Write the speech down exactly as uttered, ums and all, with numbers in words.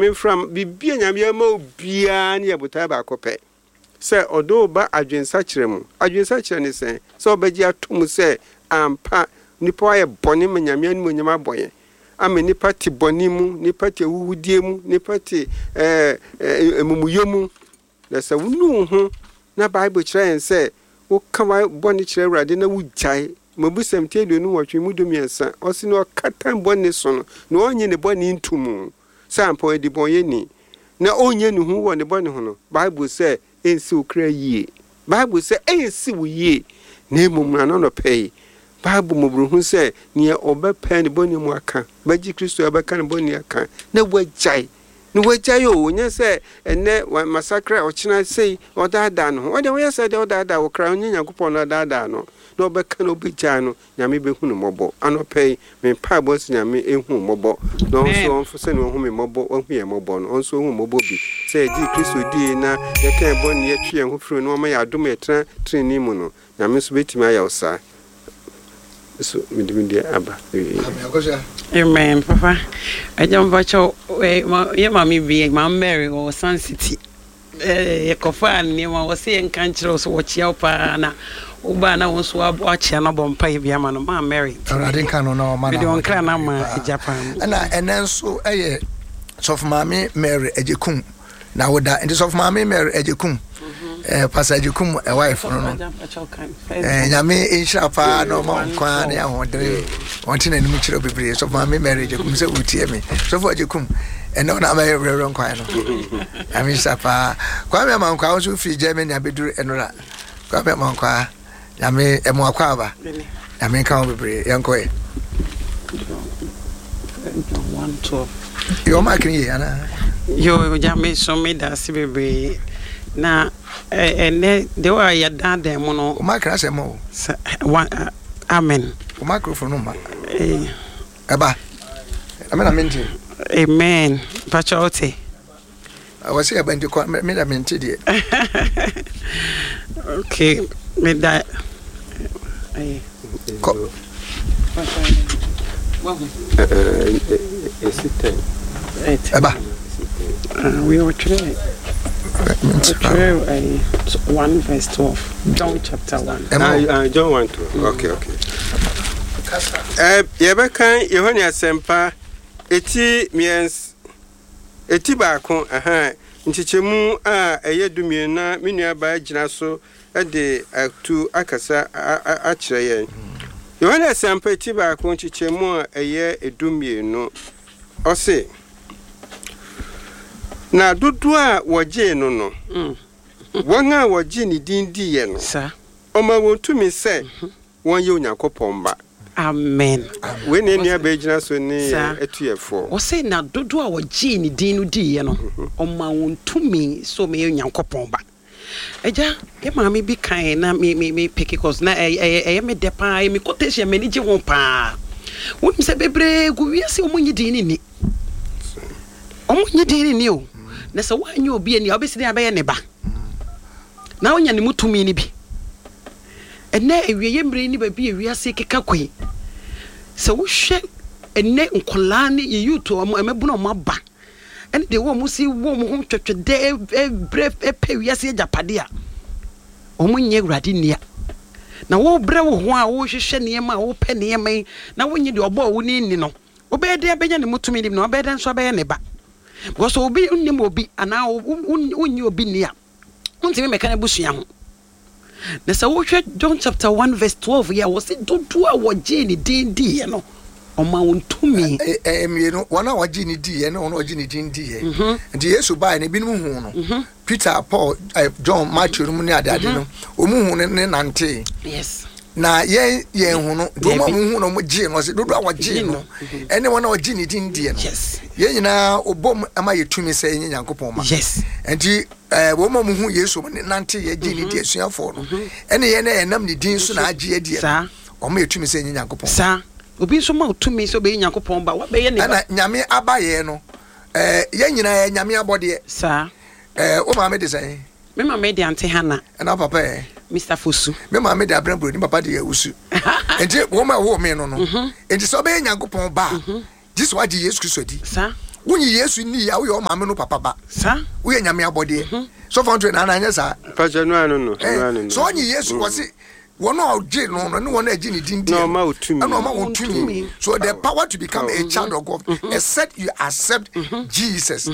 Nyame mfram biribi a Nyame ama obiara ne yɛ botae baako pɛ sɛ ɔde wo ba adwensakyerɛ mu. Adwensakyerɛ ne sɛn? Sɛ wobɛgye ato mu sɛ ampa nnipa ayɛ bɔne ma Nyame animuonyam abɔ yɛn, ama nnipa te bɔne mu, nnipa te ahuhudie mu, nnipa te ɛɛ amumuyɛ mu. Na sɛ wonu wo ho na Bible kyerɛ yɛn sɛ woka bɔne kyerɛ Awurade na wogyae, Mmebusɛm ti aduonu nwɔtwe mu dumiɛnsa, ɔse na ɔkata bɔne so no, na ɔnnye ne bɔne nto mu sɛ ampa ɔyɛ debɔnyɛni, na ɔnyɛ ne ho wɔ ne bɔne ho no, Bible sɛ ɛnsi wo kra yie. Bible sɛ ɛnsi wo yie, na mmom no anɔnɔpɛ yi, Bible mmɔborɔhu sɛ nea ɔbɛpɛ ne bɔne mu aka, bɛgye Kristo a ɔbɛka ne bɔne aka, na wagyae. Na wagyae o, nyɛ sɛ ɛnɛ masakra, ɔkyena sei, ɔdaadaa ne ho. Ɔdeɛ woyɛ sɛ deɛ ɔdaadaa wo kra, ɔnyɛ Nyankopɔn na ɔdaadaa no. Na ɔbɛka na ɔbɛgyae no, Nyame bɛhu no mmɔbɔ. Anɔpɛ yi, me mpaebɔ sɛ Nyame ɛhu mmɔbɔ. Na ɔnso ɔmfo sɛ ne ɔhu me mmɔbɔ, ɔhu yɛn mmɔbɔ no, ɔnso ɔhu mmɔbɔ bi. Sɛ yɛgye Kristo die na yɛka yɛn bɔne, yɛtwe yɛn ho firi no, ɔma yɛ adom yɛtena tenenee mu no, Nyame nso bɛtumi ayɛ wo saa. So mede me deɛ aba. Amen, papa. Agya mpakyɛw, yɛ maame bi, Maame Mary wɔ Sun City. Yɛkɔfaa nneɛma wɔ sɛ yɛnka nkyerɛ wo sɛ wɔkyea wo paa na wobaa na wo nso wakyea no abɔ mpaeɛ bi ama no, Maame Mary. Awurade nka no na ɔma no mede wɔn kra no ama agya paa. Ɛna ɛnɛ nso ɛyɛ Sɔfo Maame Mary Agyekum na woda. Nti Sɔfo Maame Mary Agyekum, eh, Pastor Agyekum ɛwaefo no no, eh, Nyame nhyira paa na ɔma nkwa ne ahoɔdene, ɔnte n'anim kyerɛ bebree. Sɔfo Maame Mary Agyekum sɛ wotie me, Sɔfo Agyekum, ɛnɛ ɔna amɛyɛ werɛwerɛ nkwan no. Nyame nhyira paa. Kwame Amankwaa wo nso firi Germany abɛduru ɛnora. Kwame Amankwaa, Nyame ɛmo akɔ aba. Nyame nka ho bebree. Yɛnkɔ ɛ. Yɛ ɔma akene yie anaa? Yo, Nyame so meda ase bebree. Na ɛnɛ deɛ wa yɛdaadaa mu no. Ɔma akene asɛm o. Amen. O microphone no ma. Ɛba. Ɛmɛ na mente. Amen. Pakyɛ wote. Wɔ sɛ yɛba nti kɔ me da mente deɛ. Okay, me da. Kɔ. Ɛba. We ɔtwerɛ ɔtwerɛ one verse twelve, John chapter one. Ah, John one twelve. Okay, okay. Eh, yɛbɛkan Yohane Asɛmpa eti mmiɛnsa, eti baako, aha, nkyekyɛmu a ɛyɛ dumienu na me nuabaa gyina so de atu akasa akyerɛ yɛn. Yohane Asɛmpa eti baako nkyekyɛmu a ɛyɛ dumienu, ɔse, na dodoɔ a wɔgyee no no, wɔn a wɔgye ne din diiɛ no, ɔma wɔn tumi sɛ wɔnyɛ Onyankopɔn mma. Amen. Wei ne nua bɛgyina so ne atuyɛfoɔ. Wɔse na dodoɔ a wɔgyee ne din no diiɛ no, ɔma wɔn tumi sɛ wɔyɛ Onyankopɔn ba. Agya, yɛ maame bi kan na me me me pick cause na ɛyɛ ɛyɛ me dɛ paa, ɛyɛ me quotation, m'ani gye ho paa. Wonim sɛ bebree gu wiase wɔn nye din ne ni. Wɔn nye din ne ni o. Na sɛ woanyɛ obi ani a, wobɛsi dɛn abɛyɛ ne ba? Na wonya ne mu tumi no bi. Ɛnɛ awieeɛ mmerɛ yi ne baabi a wiase keka kɔ yi, sɛ wohwɛ ɛnɛ nkɔlaa ne yɛ youth ɔmo ɛmɛbunu ɔmo aba ɛne deɛ wɔn si wɔ wɔn ho twɛtwɛdɛ ɛbrɛ ɛpɛ wiase agyapade a wɔn nyɛ Awurade nnia. Na wɔbrɛ wo ho a wɔhwehwɛ nneɛma a wɔpɛ nneɛma yi na wɔnyɛ deɛ ɔbɔɔ wo ne nni no, wobɛyɛ dɛn abɛnya ne mu tumi no bi na wobɛyɛ dɛn nso abɛyɛ ne ba? Because obi nnim obi anaa wonnye obi nni a, wontumi mmɛka n'abusua ho. Na sɛ wohwɛ John chapter one verse twelve yi a, wɔse dodoɔ a wɔgyee ne din diiɛ no, ɔma wɔn tumi. Ɛɛ mmienu, wɔn a wɔgye ne diiɛ ne wɔn a wɔgye ne din diiɛ. Nti Yesu baeɛ no, ebinom huu no. Peter, Paul, John, Matthew no mu ne adeade no, wɔn hu no ne nantee. Yes. Na yɛn yɛn hu no, nti wɔn a wɔn hu no, wɔn gyee no, ɔse dodoɔ a wɔgyee no, ɛne wɔn a wɔgye ne din diiɛ no. Yes. Yɛn nyinaa ɔbɔ mu ama yɛ tumi sɛ yɛnyɛ Nyankopɔn ma. Yes. Nti ɛɛ wɔn a wɔn hu Yesu wɔn nante yɛ gye ne di asuafoɔ no, ɛne yɛn a yɛnam ne din so na agye yɛ diɛ no, wɔn yɛ tumi sɛ yɛnyɛ Nyankopɔn. Saa. Obi nso ma tumi sɛ ɔbɛyɛ Nyankopɔn ba, wabɛyɛ ne ba. Ɛna Nyame aba yɛn no, ɛɛ yɛn nyinaa yɛ Nyame abɔdeɛ. Saa. Ɛɛ wo maame de sɛn? Me maame de Ante Hana. Ɛna papa yɛ? Mister Fosu. Me maame de Abena Buroni, papa de Awusu. Nti wɔn a wɔwɔ me no no, nti sɛ ɔbɛyɛ Nyankopɔn ba a, gye sɛ wagye Yesu Kristo adi. Saa. Wonyi Yesu ni a, woyɛ ɔmaame no papa ba. Saa. Woyɛ Nyame abɔdeɛ. Sɔfo nto na anyɛ saa. Mpakyɛ no ano no no ano no. Sɛ ɔnye Yesu, wɔse wɔn a ɔgye no no ne wɔn a ɛgye ne din di Na ɔma wo tumi. Ɛna ɔma wɔn tumi. Tumi. So the power to become a child of God, except you accept Jesus.